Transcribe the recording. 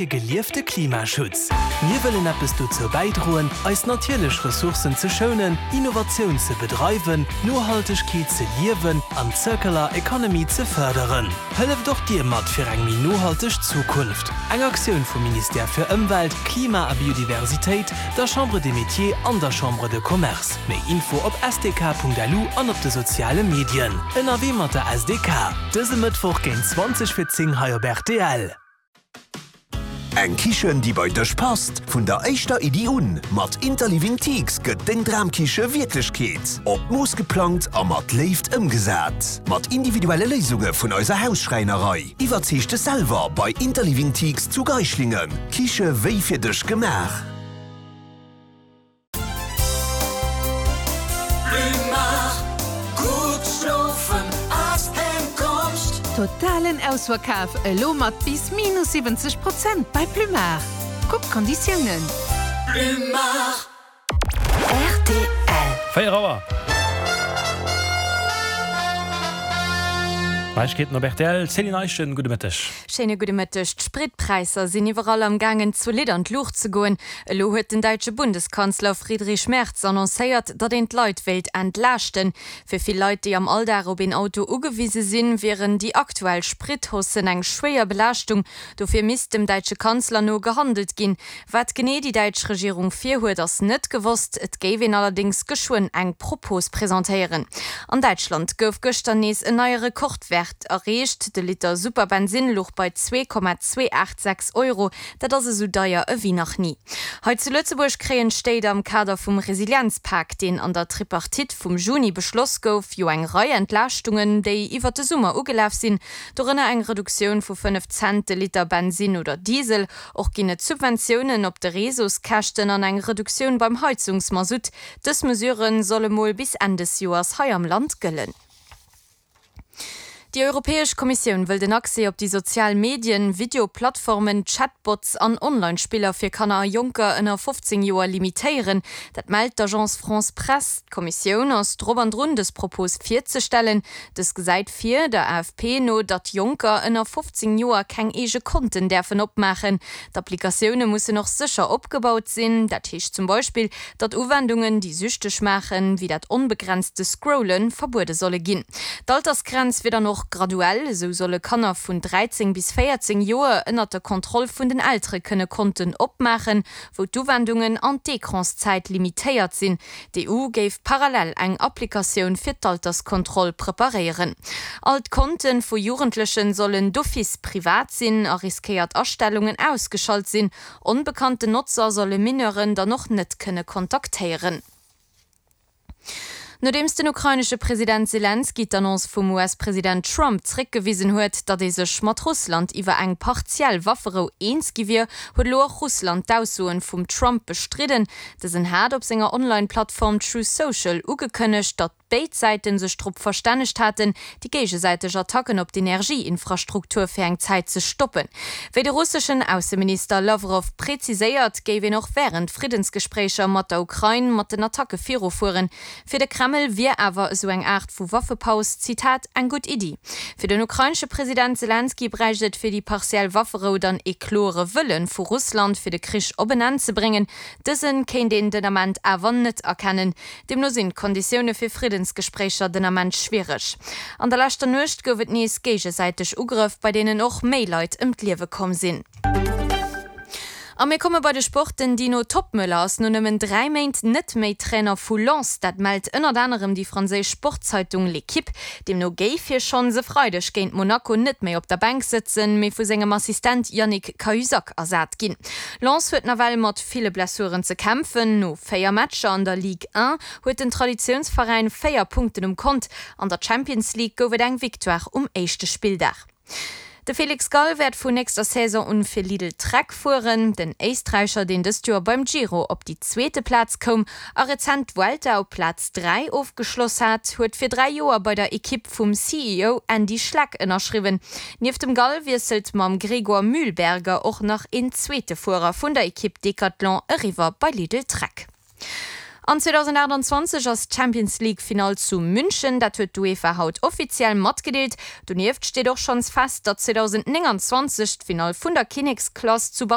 Fir geliefte Klimaschutz. Mir wëllen eppes dozou bäidroen, eis natierlech Ressourcen ze schounen, Innovatioun ze bedreiwen, Nohaltegkeet ze liewen an d'Circular Economy ze fërderen. Hëlleft och Dir mat fir eng méi nohalteg Zukunft. Eng Aktioun vum Ministère fir Ëmwelt, Klima a Biodiversitéit, der Chambre des Métiers an der Chambre de Commerce. Méi Info op sdk.lu an op de soziale Medien. Ënnerwee mat der SDK. Dëse Mëttwoch géint 20 fir 10 hei op rtl. Eng Kichen déi bei dech passt, vun der éischter Iddi un. Mat Interliving Teaks gëtt deng Dramkiche Wierklechkeet. Op d'Mooss geplangt a mat Léift ëmgesat. Mat individuelle Léisunge vun eiser Hausschräinerei. Iwwerzeeg dech selwer bei Interliving Teaks zu Geischlingen. Kiche wéi fir dech gemaach. Totalen Ausverkaf elo mat bis minus 70 Prozent bei Plumar. Kuck d'Konditiounen. Rtl. 4 Auer. Neiegkeeten op rtl, Céline Eischen, gudde Mëtteg. Schéine gudde Mëtteg. D'Spritpräisser sinn iwwerall am gaangen zolidd an d'Luucht ze goen. Elo huet den däitsche Bundeskanzler Friedrich Merz annoncéiert, datt een d'Leit wéilt entlaaschten. Fir vill Leit, déi am Alldag op een Auto ugewise sinn, wieren déi aktuell Sprithaussen eng schwéier Belaaschtung. Dofir misst dem däitsche Kanzler no gehandelt ginn. Wat genee déi däitsch Regierung virhuet, ass net gewosst. Et géif een allerdéngs geschwënn eng Propos presentéieren. An Däitschland gouf gëschter nees en neie Rekordwäert erreecht. De Liter Superbensinn louch bei 2,286 Euro. Dat ass esou deier ewéi nach ni. Hei zu Lëtzebuerg kréien d'Stéit am Kader vum Resilienzpak, deen an der Tripartite vum Juni beschloss gouf, jo eng Rei Entlaaschtungen, déi iwwert de Summer ugelaf sinn. Dorënner eng Reduktioun vu 5 Cent de Liter Bensinn oder Diesel. Och ginn et Subventiounen op de Réseauskäschten an eng Reduktioun beim Heizungsmasutt. Dës Mesure solle mol bis Enn des Joers hei am Land gëllen. Déi Europäesch Kommissioun wëll den Accès op déi sozial Medien, Videoplattformen, Chatbots an Online-Spiller fir Kanner a Jonker ënner 15 Joer limitéieren. Dat mellt d'Agence France Presse. D'Kommissioun ass drop an drun, dës Propos virzestellen. Dës gesäit vir, der AFP no, datt Jonker ënner 15 Joer keng eege Konten däerfen opmaachen. D'Applikatioune mussen och sécher opgebaut sinn. Dat heescht zum Beispill, datt Uwendungen, déi süchteg maachen, wéi dat onbegrenzte Scrollen, verbuede solle ginn. D'Altersgrenz wier dann och graduell, esou solle Kanner vun 13 bis 14 Joer ënnert der Kontroll vun den Eltere kënne Konten opmaachen, wou d'Uwendungen an d'Ecranszäit limitéiert sinn. D'EU géif parallel eng Applikatioun fir d'Alterskontroll preparéieren. All d'Konte vu Jugendlechen sollen d'office privat sinn a riskéiert Astellungen ausgeschalt sinn. Onbekannten Notzer solle Mineuren dann och net kënne kontaktéieren. Nodeems den ukrainesche President Selenskyj d'Annonce vum US-President Trump zréckgewisen huet, datt ee sech mat Russland iwwer eng partiell Wafferou eens gi wier, huet elo och Russland d'Aussoen vum Trump bestridden. Dësen hat op senger Online-Plattform Truth Social ugekënnegt, datt béid Säite sech drop verstännegt haten, déi géigesäiteg Attacken op d'Energieinfrastruktur fir eng Zäit ze stoppen. Wéi de russeschen Ausseminister Lawrow preziséiert, géif een och wärend Friddensgespréicher mat der Ukrain mat den Attacke virufueren. Fir de Kreml wier awer esou eng Aart vu Waffepaus, Zitat, eng gutt Iddi. Fir den ukrainesche President Selenskyj bräicht et fir déi partiell Wafferou dann ee kloere Wëlle vu Russland, fir de Krich op en Enn ze bréngen. Dëse kéint een den Ament awer net erkennen. Deemno sinn d'Konditioune fir Friddensgespréicher den Ament schwiereg. An der leschter Nuecht gouf et nees géigesäiteg Ugrëff, bei deenen och méi Leit ëm d'Liewe komm sinn. A mir komme bei de Sport. Den Dino Toppmöller ass no nëmmen 3 Méint net méi Trainer vu Lens. Dat mellt ënnert anerem déi franséisch Sportzeitung L'Equipe. Deemno géif hie schonns e Freideg géint Monaco net méi op der Bänk sëtzen, mee vu sengem Assistent Yannick Cahuzac ersat ginn. Lens huet nawell mat ville Blessuren ze kämpfen. No 4 Matcher an der Ligue 1 huet den Traditiounsveräin 4 Punkten um Kont. An der Champions League gouf et eng Victoire um éischte Spilldag. De Felix Gall wäert vun nächster Saison un fir Lidl Trek fueren. Den Éisträicher, deen dëst Joer beim Giro op déi zweete Plaz koum a rezent d'Vuelta op Plaz 3 ofgeschloss hat, huet fir 3 Joer bei der Ekipp vum CEO Andy Schleck ënnerschriwwen. Nieft dem Gall wiesselt mam Gregor Mühlberger och nach een zweete Fuerer vun der Ekipp Decathlon eriwwer bei Lidl Trek. An 2028 ass d'Champions League Finall zu München, dat huet d'UEFA haut offiziell matgedeelt. Donieft steet och schonns fest, datt 2029 d'Finall vun der Kinneksklass zu.